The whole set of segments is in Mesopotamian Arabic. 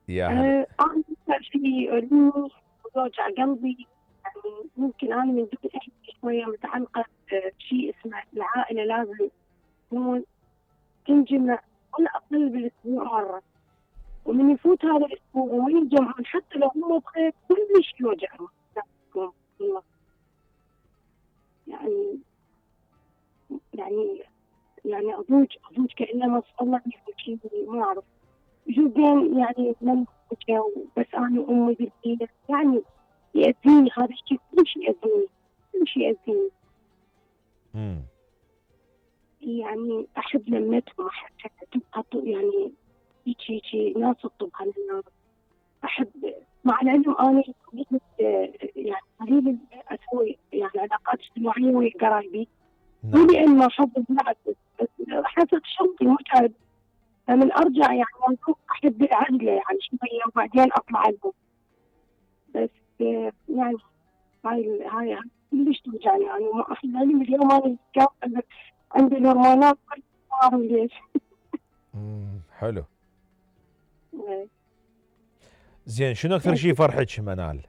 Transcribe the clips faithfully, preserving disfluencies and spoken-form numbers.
يا هلا. أه انا اكثر شيء يؤلمني ويوجع قلبي، يعني ممكن انا من دون احكي شويه متعلقه بشيء اسمه العائله لازم تكون تنجمع على الاقل بالاسبوع مره، ومن يفوت هذا الاسبوع ومن يتجمعون حتى لو هم بخير كلش يوجعهم. والله يعني يعني يعني اضوج اضوج كانه ما الله يحكي ما اعرف شو بين يعني من بس انا وامي بالبيت يعني يأذيني هذا الشيء، كل شيء يأذيني كل شيء يأذيني. امم يعني احب لمتهم، احب تبقى يعني هيك هيك ناس تطب على الناس. احب مع العلم انا يعني قليل اسوي يعني علاقات اجتماعيه ويا قرايبي، مو نعم. لان ما احب بالعكس، بس حسب شغلي متعب، فمن ارجع يعني احب العزله يعني شويه وبعدين اطلع لهم. بس يعني هاي هاي كلش توجعني يعني ما احب العلم اليوم انا كان عندي الهرمونات ما اعرف ليش. امم حلو. زين شنو اكثر شيء فرحك منال؟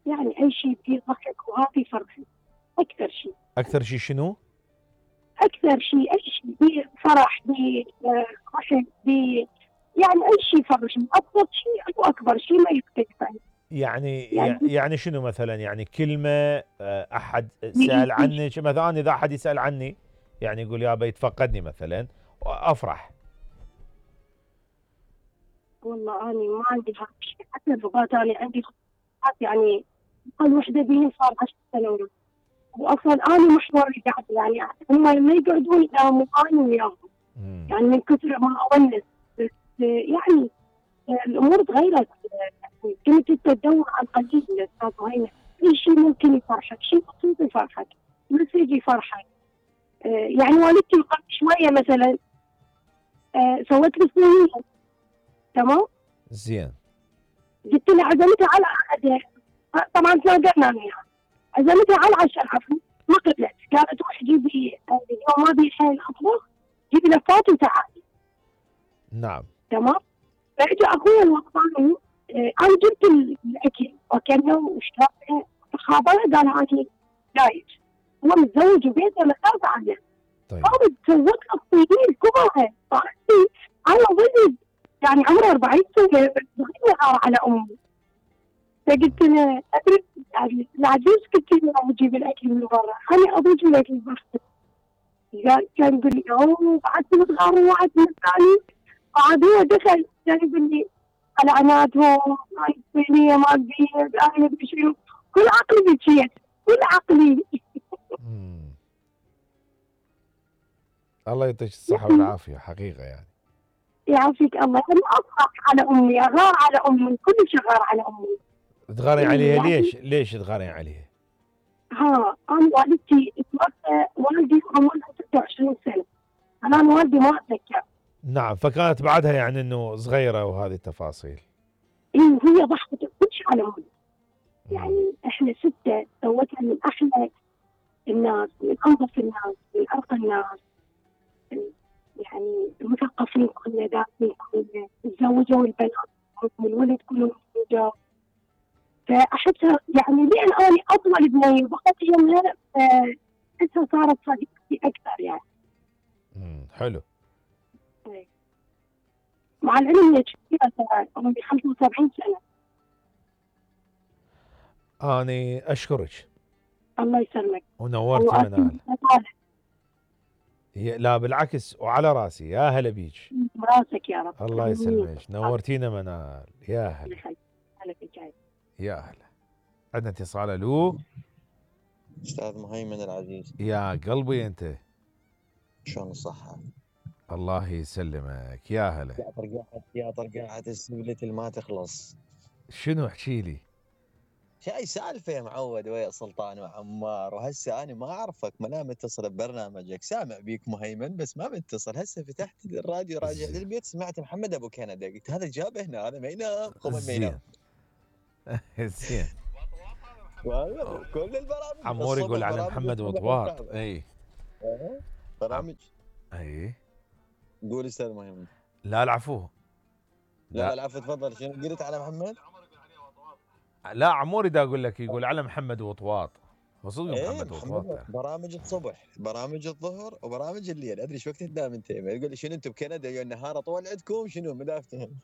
يعني اي شيء فيه ضحك وهذه فرحي اكثر شيء. اكثر شيء شنو؟ اكثر شيء اي شيء فيه فرح فيه ضحك فيه يعني اي شيء فرحني، اكثر شيء او اكبر شيء ما يختلف عنه. يعني يعني يعني شنو مثلا؟ يعني كلمه احد سال عنك مثلا، اذا احد يسال عني يعني يقول يابا يتفقدني مثلا افرح. والله انا ما عندي هذا الشيء، حتى الرباط انا عندي خطوات يعني اقل وحده بيني صار عشر سنوات، واصلا انا محوري قاعد يعني هم لما يقعدون يناموا انا وياهم يعني من كثر ما اونس. بس يعني الامور تغيرت، يعني كنت تدور على القليل يا استاذ هينا، اي شيء ممكن يفرحك، شيء بسيط يفرحك، مسج يفرحك. آه يعني والدتي قبل شويه مثلا آه سوت لي صينيه تمام؟ زين. قلت لها عزمتها على عقدها، طبعا تلاقينا وياها، عزمتها على العشاء العفو ما قبلت، قالت روح جيبي اليوم ما بي حيل اطبخ، جيبي لفات وتعالي. نعم. تمام؟ فاجى اخوي الوطني آه انا جبت الاكل وكلنا وشربنا، فخابره قال انا دايت، هو متزوج وبيته متابع عنه. طيب. قامت سوت له الطيبين كبرها، صارت انا ولد يعني عمره أربعين سنه بس صغيره على امي. فقلت له ادري يعني العجوز قلت له اجيب الاكل من برا، انا اضيف الاكل برا. قال كان يقول لي اوه بعد صغار وواحد من الثاني، بعد هو دخل كان يقول لي العناتهم هاي الصينيه ما تبين انا ادري شنو، كل عقلي بكيت كل عقلي. الله يعطيك الصحه والعافيه حقيقه يعني. يعافيك الله. انا اصرخ على امي، اغار على امي، كل شيء غار على امي. تغارين عليها ليش؟ ليش تغارين عليها؟ ها انا والدتي توفى والدي عمرها ستة وعشرين سنه، انا والدي ما اتذكر. نعم، فكانت بعدها يعني انه صغيره وهذه التفاصيل. اي وهي ضحكت كل شيء على امي. يعني احنا سته سوتها من احلى الناس، من انظف الناس، من ارقى الناس، يعني المثقفين كلنا، دارسين كلنا، تزوجوا البنات والولد كلهم تزوجوا. فاحسها يعني لان انا اطول بنيه وبقت يمها احسها صارت صديقتي اكثر يعني. امم حلو. مع العلم هي كبيره ترى عمري خمسة وسبعين سنه. اني اشكرك. الله يسلمك. ونورتي منال. لا بالعكس وعلى راسي، يا هلا بيك. راسك يا رب. الله يسلمك، نورتينا منال، يا هلا. هلا فيك. يا هلا. عندنا اتصال. الو استاذ مهيمن العزيز. يا قلبي انت شلون الصحة؟ الله يسلمك، يا هلا. يا طرقاعة يا طرقاعة السبلة اللي ما تخلص. شنو احكي لي؟ شاي سالفة يا معود ويا سلطان وعمار، وهسه انا ما اعرفك، ما لا متصل ببرنامجك، سامع بيك مهيمن بس ما متصل. هسه فتحت الراديو راجع للبيت سمعت محمد ابو كندا، قلت هذا جابه هنا، هذا ما ينام قوم ما ينام. زين. كل البرامج عمور يقول على محمد وطواط. اي برامج. اي قول استاذ مهيمن. لا العفو. لا لا لا العفو تفضل. شنو قلت على محمد؟ لا عموري دا اقول لك يقول على محمد وطواط، وصدق ايه محمد وطواط. محمد برامج الصبح، برامج الظهر، وبرامج الليل. ادري ايش وقت تنام انت؟ يقول لي شنو انتم بكندا يا النهار طول عندكم شنو مدافتهم؟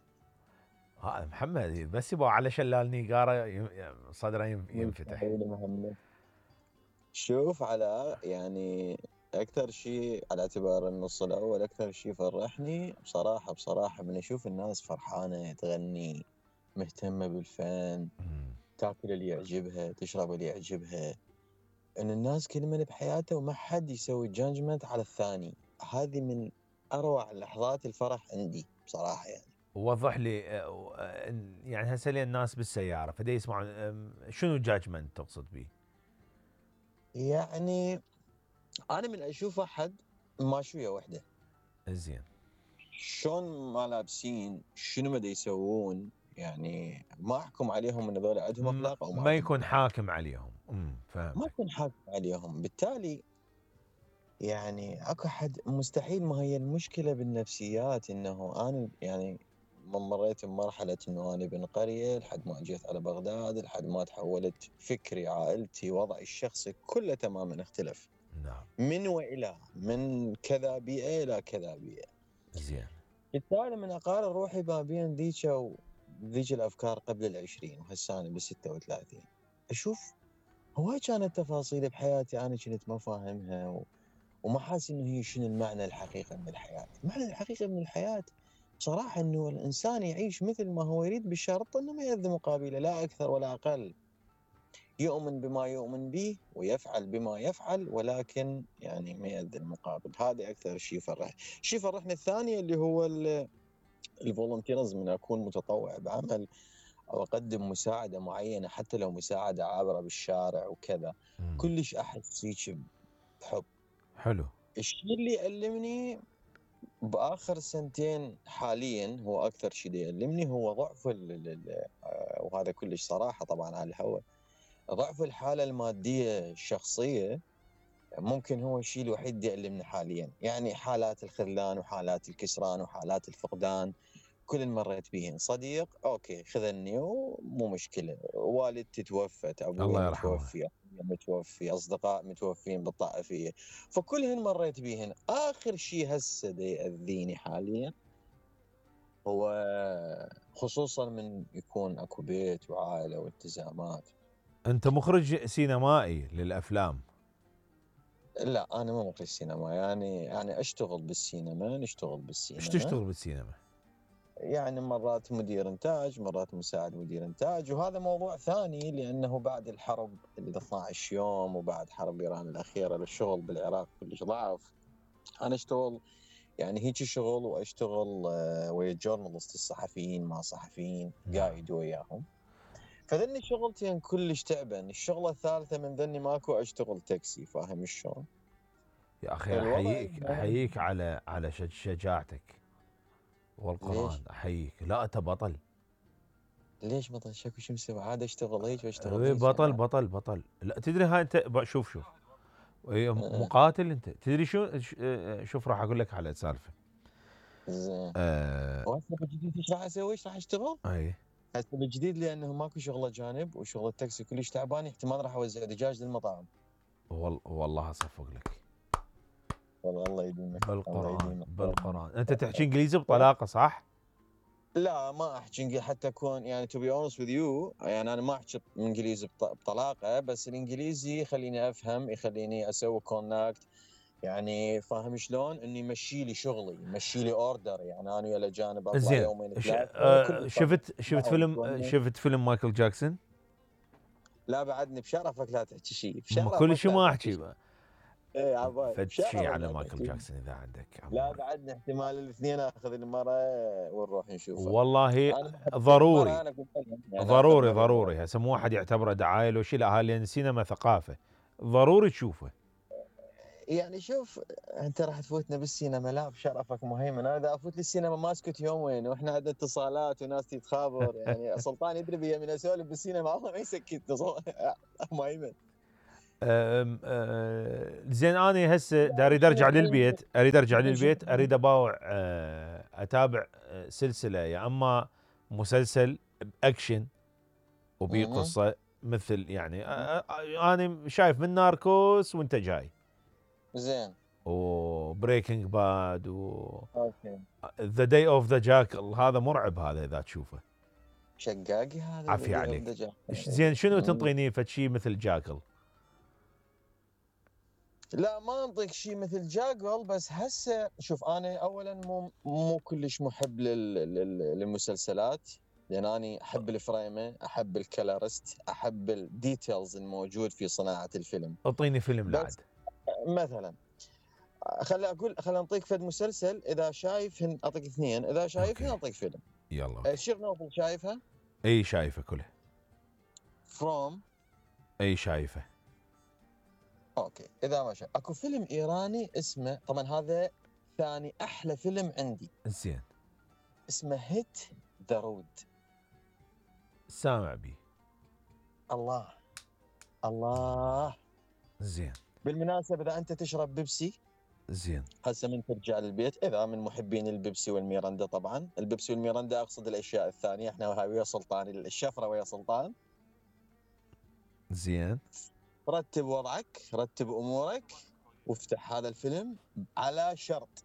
ها محمد بس يبغى على شلال نيقاره يم- صدره يم- ينفتح. مستحيل محمد. شوف على يعني اكثر شيء على اعتبار النص الاول اكثر شيء فرحني بصراحه بصراحه من اشوف الناس فرحانه تغني، مهتمه بالفن، مم. تاكل اللي يعجبها، تشرب اللي يعجبها، ان الناس كل من بحياته وما حد يسوي جادجمنت على الثاني. هذه من اروع لحظات الفرح عندي بصراحه يعني. وضح لي آه، آه، يعني هسه لين الناس بالسياره فدي يسمعون آم، شنو جاجمنت تقصد به؟ يعني انا من اشوف احد ماشويه وحده زين. شلون ما لابسين، شنو ما يسوون، يعني ما احكم عليهم ان هذول عندهم ما, اخلاق او ما ما عندهم يكون أخلاق. حاكم عليهم. امم ما فهمتك. اكون حاكم عليهم. بالتالي يعني اكو حد مستحيل. ما هي المشكله بالنفسيات انه انا يعني من مريت بمرحله انه انا ابن قريه لحد ما اجيت على بغداد، لحد ما تحولت فكري، عائلتي، وضعي الشخصي كله تماما اختلف نعم. من والى، من كذا بيئه الى كذا بيئه. زين. بالتالي من اقارن روحي ما بين ذيك وذيك الافكار قبل العشرين وهسه انا بالستة وثلاثين، اشوف هواي كانت تفاصيل بحياتي انا كنت ما فاهمها و... وما حاسس انه هي شنو المعنى الحقيقي من الحياه. المعنى الحقيقي من الحياه بصراحه انه الانسان يعيش مثل ما هو يريد بشرط انه ما يأذي مقابله، لا اكثر ولا اقل. يؤمن بما يؤمن به ويفعل بما يفعل، ولكن يعني ما يأذي المقابل. هذا اكثر شيء يفرح. شيء فرحني الثاني اللي هو الفولنتيرزم، من اكون متطوع بعمل او اقدم مساعده معينه، حتى لو مساعده عابره بالشارع وكذا، مم. كلش احس فيك بحب. حلو. الشيء اللي يألمني باخر سنتين حاليا، هو اكثر شيء يألمني، هو ضعف ال ال آه، وهذا كلش صراحه طبعا على الهواء، ضعف الحاله الماديه الشخصيه. ممكن هو الشيء الوحيد اللي يألمني حاليا. يعني حالات الخذلان وحالات الكسران وحالات الفقدان كل مريت بيهن. صديق اوكي خذلني ومو مشكله، والدتي توفت، ابوي الله يرحمه. متوفي، أخوي متوفي، اصدقاء متوفين بالطائفيه، فكلهن مريت بيهن. اخر شيء هسه دا ياذيني حاليا هو خصوصا من يكون اكو بيت وعائله والتزامات. انت مخرج سينمائي للافلام؟ لا انا مو مخرج سينما، يعني يعني اشتغل بالسينما، نشتغل بالسينما. ايش تشتغل بالسينما؟ يعني مرات مدير انتاج، مرات مساعد مدير انتاج، وهذا موضوع ثاني لانه بعد الحرب ال اثنا عشر يوم وبعد حرب ايران الاخيره الشغل بالعراق كلش ضعف. انا اشتغل يعني هيك شغل، واشتغل آه، ويا الجورنالست الصحفيين مع صحفيين قايد وياهم. فذني شغلتين كلش تعبان. الشغله الثالثه من ذني ماكو، اشتغل تاكسي. فاهم شلون؟ يا اخي الوضع احييك احييك على على شج- شجاعتك والقران. ليش؟ احييك. لا انت بطل. ليش بطل؟ شكو شو مسوي؟ عاد اشتغل هيك واشتغل إيه هيك بطل يعني. بطل بطل. لا تدري هاي انت ب- شوف شوف إيه أه. مقاتل انت. تدري شو ش- آه، شوف راح اقول لك على سالفه. زين. آه وهسه بالجديد ايش راح اسوي؟ ايش راح اشتغل؟ اي هسه بالجديد لانه ماكو شغله جانب وشغل التاكسي كلش تعبان، احتمال راح اوزع دجاج للمطاعم. وال والله اصفق لك والله الله يديمك، الله بالقران يديمك. بالقران. انت تحكي انجليزي بطلاقه صح؟ لا ما احكي انجليزي حتى اكون يعني تو بي اونست وذ يو، يعني انا ما احكي انجليزي بط- بطلاقه، بس الانجليزي يخليني افهم، يخليني اسوي كونكت. يعني فاهم شلون؟ انه يمشي لي شغلي، يمشي لي اوردر. يعني انا ويا الاجانب اطلع زين. يومين ش- ثلاثه آه، كل شفت شفت فيلم شفت فيلم مايكل جاكسون؟ لا بعدني بشرفك لا تحكي شيء، ما بشرفك كل شيء لا ما تحكي احكي شيء. بقى. ايه عباي فد بشرفك شيء على لا مايكل تحكي. جاكسون اذا عندك لا عموري. بعدنا احتمال الاثنين اخذ المرة ونروح نشوفه. والله انا بحب المرة، ضروري انا قلت لهم يعني ضروري آخر مرة ضروري. هسه مو واحد يعتبره دعايه لو شيء، لا هاي لان السينما ثقافه ضروري تشوفه. يعني شوف انت راح تفوتنا بالسينما. لا بشرفك مهيمن، انا اذا افوت للسينما ما اسكت يومين، واحنا عندنا اتصالات وناس تتخابر. يعني سلطان يدري بيا من اسولف بالسينما الله ما يسكتنا مهيمن. أم أه زين انا هسه دا اريد ارجع للبيت اريد ارجع للبيت اريد اباوع أه اتابع أه سلسله يا اما مسلسل باكشن وبي مهم. قصه مثل يعني أه أه انا شايف من ناركوس وانت جاي زين وبريكنج باد و اوكي ذا داي اوف ذا جاكل هذا مرعب هذا اذا تشوفه. شقاقي هذا عافية اللي عليك. يردجه. إيش زين شنو مم. تنطيني فد شيء مثل جاكل؟ لا ما انطيك شيء مثل جاكل، بس هسه شوف انا اولا مو مو كلش محب لل... لل... للمسلسلات، لان انا احب الفريمه، احب الكلارست، احب الديتيلز الموجود في صناعه الفيلم. اعطيني فيلم بس لعد. مثلا خلي اقول خلي انطيك فد مسلسل، اذا شايفهن اعطيك اثنين، اذا شايفهن أوكي. اعطيك فيلم. يلا أوكي. شيرنوبل شايفها؟ اي شايفه كلها. فروم اي شايفه. اوكي اذا ما شايف اكو فيلم ايراني اسمه، طبعا هذا ثاني احلى فيلم عندي، زين اسمه هيت ذا رود. سامع بي. الله الله. زين بالمناسبة إذا أنت تشرب بيبسي زين هسه من ترجع للبيت، إذا من محبين البيبسي والميرندا، طبعا البيبسي والميرندا أقصد الأشياء الثانية، إحنا هاي ويا سلطان، الشفرة ويا سلطان. زين رتب وضعك، رتب أمورك، وافتح هذا الفيلم على شرط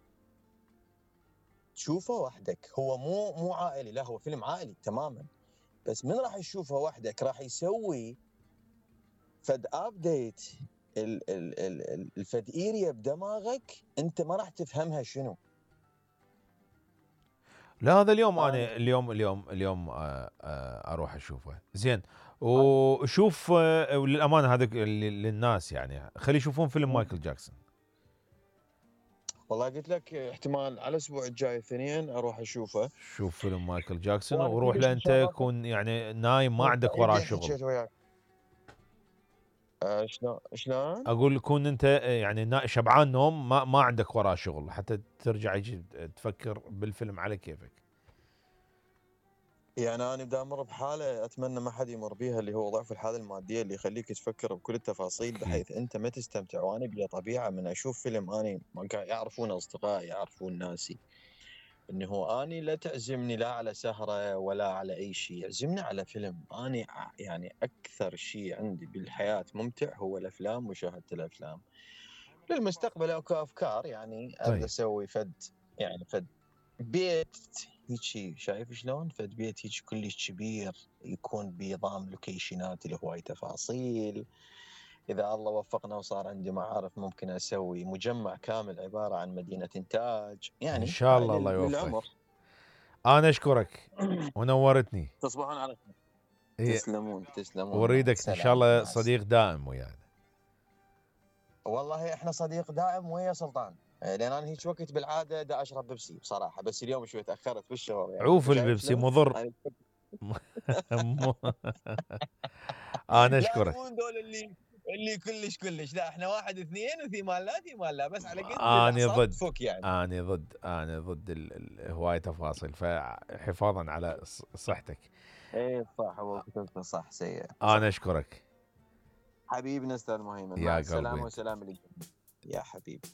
تشوفه وحدك. هو مو مو عائلي، لا هو فيلم عائلي تماما، بس من راح يشوفه وحدك راح يسوي فد ابديت ال ال ال الفد ايريا بدماغك انت ما راح تفهمها شنو. لا هذا اليوم آه. انا اليوم اليوم اليوم آه آه اروح اشوفه. زين وشوف آه للامانه هذا للناس يعني خلي يشوفون فيلم مايكل جاكسون. والله قلت لك احتمال على الاسبوع الجاي اثنين اروح اشوفه. شوف فيلم مايكل جاكسون وأنا وروح كلش له انت مشرفك. كون يعني نايم ما عندك وراه شغل. حكيت وياك. آه شلون شلون؟ اقول كون انت يعني نا- شبعان نوم ما ما عندك وراه شغل حتى ترجع يجي تفكر بالفيلم على كيفك. يعني انا بدي امر بحاله اتمنى ما حد يمر بيها، اللي هو ضعف الحاله الماديه اللي يخليك تفكر بكل التفاصيل أكيد. بحيث انت ما تستمتع. وانا بيا طبيعه من اشوف فيلم اني ما قاعد يعرفون اصدقائي يعرفون ناسي انه هو اني لا تعزمني لا على سهره ولا على اي شيء، يعزمني على فيلم. اني يعني اكثر شيء عندي بالحياه ممتع هو الافلام، مشاهده الافلام. للمستقبل اكو افكار يعني اريد طيب. اسوي فد يعني فد بيت هيجي، شايف شلون؟ فد بيت هيجي كلش كبير يكون بنظام لوكيشنات اللي هواي تفاصيل. اذا الله وفقنا وصار عندي معارف ممكن اسوي مجمع كامل عباره عن مدينه انتاج، يعني ان شاء هاي الله الله لل- يوفقك. للعمر. انا اشكرك ونورتني. تصبحون على خير. إيه. تسلمون تسلمون. مع واريدك ان السلامة، شاء الله مع السلامة. صديق دائم ويانا. والله احنا صديق دائم ويا سلطان، لان انا هيك وقت بالعاده دا اشرب بيبسي بصراحه، بس اليوم شوي تاخرت بالشغل يعني. عوف شايف البيبسي شلون؟ مضر. أنا- مو- انا لا اشكرك. مو دول اللي اللي كلش كلش، لا احنا واحد اثنين وفي مال لا في مال لا، بس على قد اني الاعصاب ضد تفك يعني. اني ضد اني ضد ال- ال- هواي تفاصيل فحفاظا على ص- صحتك. ايه صح، هو كتبته صح سيء. انا اشكرك حبيبنا استاذ مهيمن، يا مع قلبي السلامه انت. وسلام لك يا حبيبي.